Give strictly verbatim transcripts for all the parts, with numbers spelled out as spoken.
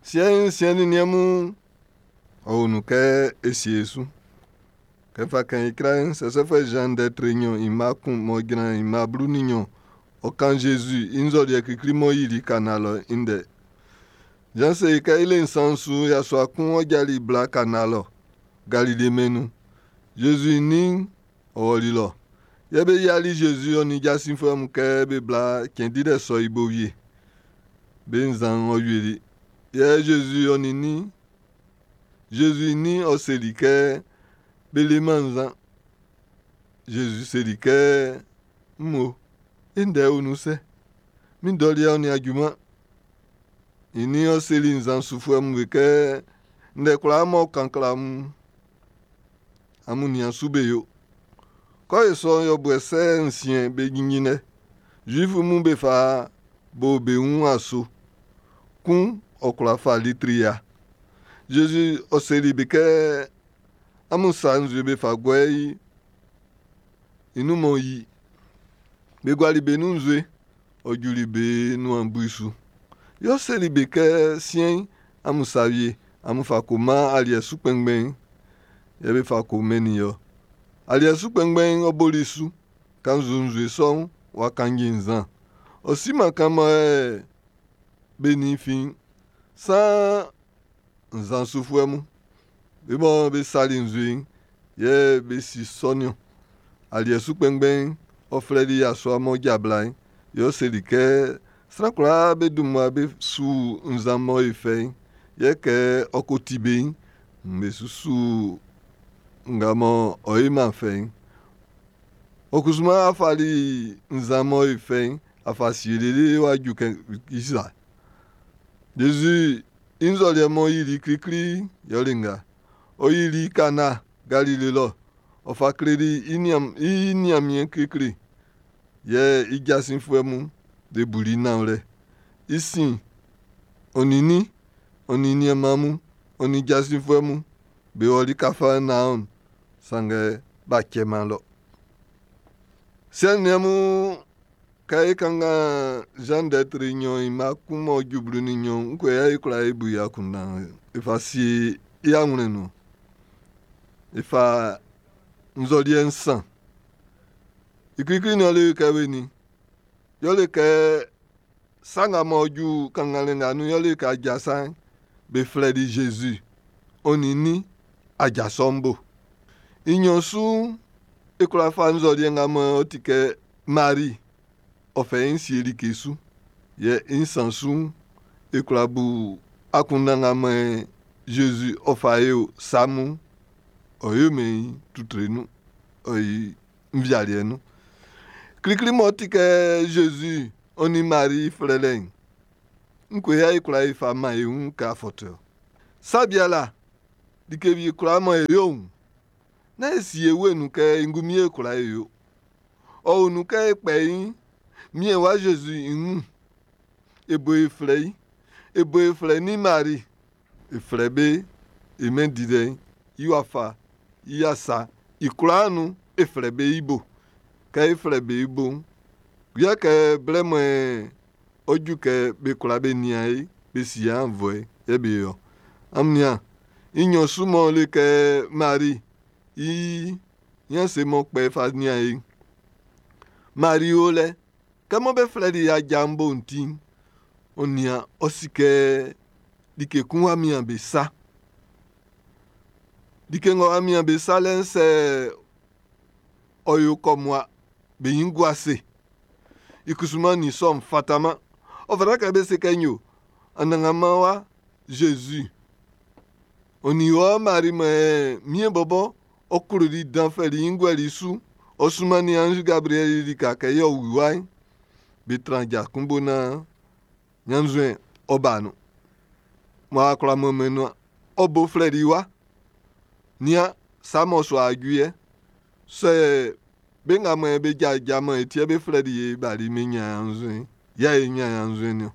Siɛn'n, siɛ nin niɛn mun, ɔ o nun kɛ e sie e su. Kɛ n fa kɛn i kra'n, Sɛsɛfuɛ Zan ndɛ tre nɲɔn i mma kun m'ɔ jran i mma blu nin nɲɔn, ɔ kan Zezi i nzɔliɛ klikli m'ɔ yili Kana lɔ'n i ndɛ. Zan se kɛ i le nsan su yasua kun ɔ jali bla Kana lɔ, Galile mɛn'n nun. Zezi i nin'n ɔ ɔli lɔ. Yɛ be yiali Zezi ɔ nin jasinfuɛ mun kɛ be bla cɛn dilɛ sɔ'n i bo wie. Be nzan'n ɔ wieli. Yɛ Zezi ɔ nin nin Zezi i nin'n ɔ seli kɛ be leman nzan. Zezi seli kɛ, “Mmo, e ndɛ o nun sɛ? Min dɔ liɛ'n ɔ nin a juman.” I nin'n ɔ seli nzan sufuɛ mun be kɛ, “Ndɛ kwlaa m'ɔ kan kle amun'n, amun nian su be yo.” Kɛ ɔ yo sɔ'n, yɔbuɛ sɛ nsiɛn be jinjin lɛ. Zuifu mun be fa bo be wun aso. Kun ɔ kwla fa litri ya. Zezi ɔ seli be kɛ, “Amun sa nzue be fa guɛ i i nun m'ɔ yi.” Be guali be nun nzue, ɔ juli be nuan bui su. Yɛ ɔ seli be kɛ, “Siɛn'n, amun sa wie, amun fa ko man aliɛ su kpɛnngbɛn'n.” Yɛ be fa ko mɛnnin i ɔ. Aliɛ su kpɛnngbɛn'n ɔ boli su. Kannzu nzue sɔ'n w'a kaci nzan. Ɔ siman kan mɔ be nin fin'n. Saan nzan sufuɛ mun, be mɔ be sali nzue'n, yɛ be si sɔ'n niɔn. Aliɛ su kpɛnngbɛn'n ɔ flɛli yasua m'ɔ ja bla'n, yɛ ɔ seli kɛ, “Sran kwlaa be dun mmua be su nzan mɔ i fɛ'n, yɛ kɛ ɔ ko ti be'n, nn be su su nga mɔ ɔ yoman fɛ'n. Ɔ kusuman a fali nzan mɔ i fɛ'n a fa sie lele w'a ju kɛ isa.” Zezi i nzɔliɛ m'ɔ yili klikli yɛle nga. Ɔ yili Kana Galile lɔ. Ɔ fa kleli i Ɲanmiɛn klikli. Yɛ i jasinfuɛ mun be buli nanwlɛ. I sin, ɔ nin nin, ɔ nin nianman mun, ɔ nin jasinfuɛ mun be ɔli Kafarnaɔm, sanngɛ b'a cɛman lɔ. Siɛ nin niɛn mun, kɛ e kanngan Zan ndɛ tre nɲɔn i mma kun m'ɔ ju blu nin nɲɔn'n, ngue yɛ e kwla e bu i akunndan e fa sie i awlɛn nun? E fa nzɔliɛ nsan. I klikli nin le kɛ we ni. Yɛle kɛ sa nga m'ɔ ju kannganlɛ nga nun yɛle kɛ aja sa'n, be flɛli Zezi ɔ nin nin aja sɔ'n bo. I nɲɔn su'n, e kwla fa nzɔliɛ nga mɔ ɔ ti kɛ Mari ɔ fɛ i sie like su. Yɛ i nsan su'n, e kwla bu akunndan nga mɔ Zezi ɔ fa e o sa mun, ɔ yo mɛn i tutre nun, ɔ yi nvialiɛ nun. Klikli m'ɔ ti kɛ Zezi ɔ nin Mari flɛlɛ'n, ngue yɛ e kwla e fa man e wun kɛ afɔtuɛ. Sabiala, like wie kwla mɔ e yo'n, nán e sie e nun kɛ e ngunmin e kwla e yo. Ɔ o nun kɛ e kpɛ i miɛn wa Zezi i wun. E bo e flɛ i. E bo e flɛ ni Mari. E flɛ be e mɛn dilɛ'n i wafa i asa i kwlaa nun e flɛ be i bo. Kɛ e flɛ be i bo'n, yɛ kɛ blɛ mɔ ɔ ju kɛ be kwla be nian e, be si annvɔɛ yɛ be yo. Amun nian, i nɲɔn su m'ɔ le kɛ Mari i ɲanse m'ɔ kpɛ fa nian e. Mari o lɛ, kɛ mɔ be flɛli i aja'n bo'n ti'n, ɔ nian ɔ si kɛ like kun w'a mian be sa. Like ng'ɔ w'a mian be sa lɛ'n sɛ ɔ yo kɔmua, be ɲin gua ase. I kusuman nin sɔ'n fataman. Ɔ fata kɛ be se kɛ yo, Anannganman wa Zezi. Ɔ nin wɔ Mari mɔ miɛn bɔbɔ ɔ kloli dan fɛli i guɛli su. Ɔ sunmannin anzi Gabriɛli lika kɛ yɛ ɔ wu wa'n. Be tran ja kun bo naan ɲannzuɛn ɔ ba nun. Mɔ a kwla mɔmɔ nuan. Ɔ bo flɛli wa. Nian sa mɔ su aju yɛ. Sɛ be nga mɔ be jaja mɔ e tie be flɛli e bali me ɲannzuɛn. Yɛ e ɲan ɲannzuɛn niɔn.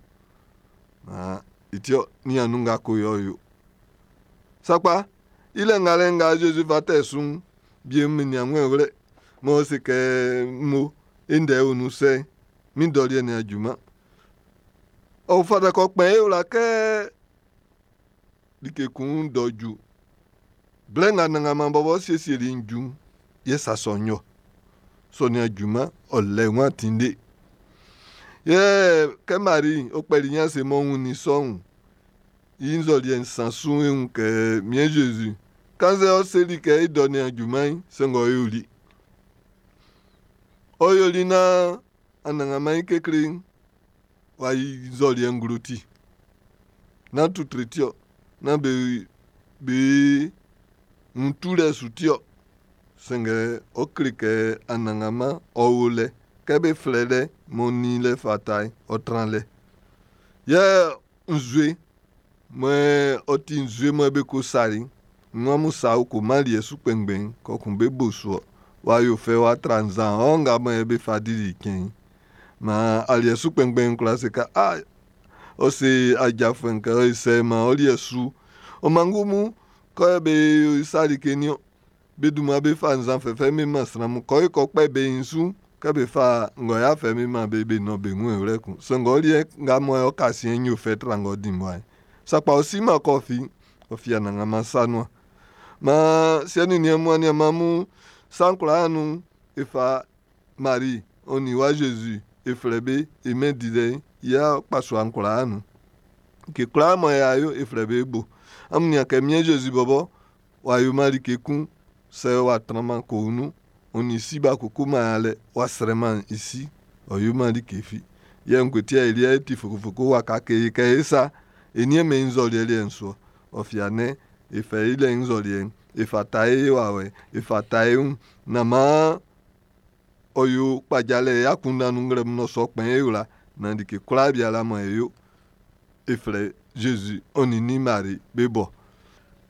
Ah, iti ɔ nian nun nga ko yɔ yo. Sakpa, i lɛ ngalɛ nga Zezi fa tɛ su'n, bie mi nian ŋwɛ wlɛ. Mɔ se kɛ mo e ndɛ o nun sɛ, min dɔ liɛ nin a juman. Ɔ fata kɛ ɔ kpɛn e wla kɛ Like kun dɔ ju. Blɛ nga Anannganman bɔbɔ siesieli'n ju'n, yɛ sa sɔ'n yɔ. Sɔ nin junman ɔ lɛ wan tinde. Yɛ kɛ Mari ɔ kpɛli i ase m'ɔ wunnin sɔ'n, i nzɔliɛ nsan su'n e wun kɛ Miɛn Zezi, kannzɛ ɔ seli kɛ i dɔ nin junman'n, sanngɛ ɔ yoli. Ɔ yoli naan Anannganman i kekle'n w'a yi nzɔliɛ nglo ti. Nán tutre ti ɔ, nán be be wun tulɛ su ti ɔ. Sanngɛ ɔ kle kɛ Anannganman ɔ o lɛ kɛ be flɛ lɛ m'ɔ nin lɛ fata'n, ɔ tran lɛ. Yɛ nzue mɔ ɔ ti nzue mɔ be ko sali'n, nn amun sa ko man liɛ su kpɛngbɛn'n, kɔkun be bo su ɔ. W'a yo fɛ w'a tra nzan ɔ nga mɔ be fa dili cɛn'n. Maan aliɛ su kpɛngbɛn'n kwla se kɛ a ɔ se ajafuɛ'n kɛ ɔ sɛ man ɔ liɛ su. Ɔ mangu mun kɔ be sa like niɔn. Be dunman be fa nzan fɛfɛ be man sran mun. Kɔ kɔ kpɛ be su kɛ be fa ngɔya fɛ be man be be nɔn be wun ewlɛ kun. Sanngɛ ɔ liɛ nga mɔ ɔ ka siɛn yo fɛ tra ngɔ di mɔa. Sakpa ɔ si ma kɔ fi ɔ fi Anannganman sa nuan. Maan siɛ nin niɛn mun aniaan mun sa'n kwlaa nun e fa Mari ɔ nin wa Zezi e flɛ be e mɛn dilɛ'n i akpasua'n kwlaa nun. Like kwlaa mɔ y'a yo e flɛ be bo. Amun nian kɛ Miɛn Zezi bɔbɔ w'a yoman like kun sɛ w'a tranman koun nun. Ɔ nin si b'a kokoman yalɛ, w'a srɛman i si, ɔ yoman like fi. Yɛ ngue ti yɛ e liɛ ti fokofoko waka kee kɛ e sa e niɛnmɛn i nzɔliɛ liɛ'n su ɔ. Ɔ fia nɛ e fɛ i lɛ nzɔliɛ'n e fa ta e wawɛ, e fa ta e wun. Nán maan ɔ yo kpajalɛ akunndan nun nglɛmun ɔ sɔ kpɛn e wla. Naan like kwlaa biala mɔ e yo e flɛ Zezi ɔ nin nin Mari be bɔ.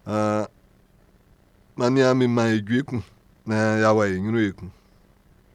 Uh, man nian mi man e jue kun naan y'a wɔ e ɲrun ekun.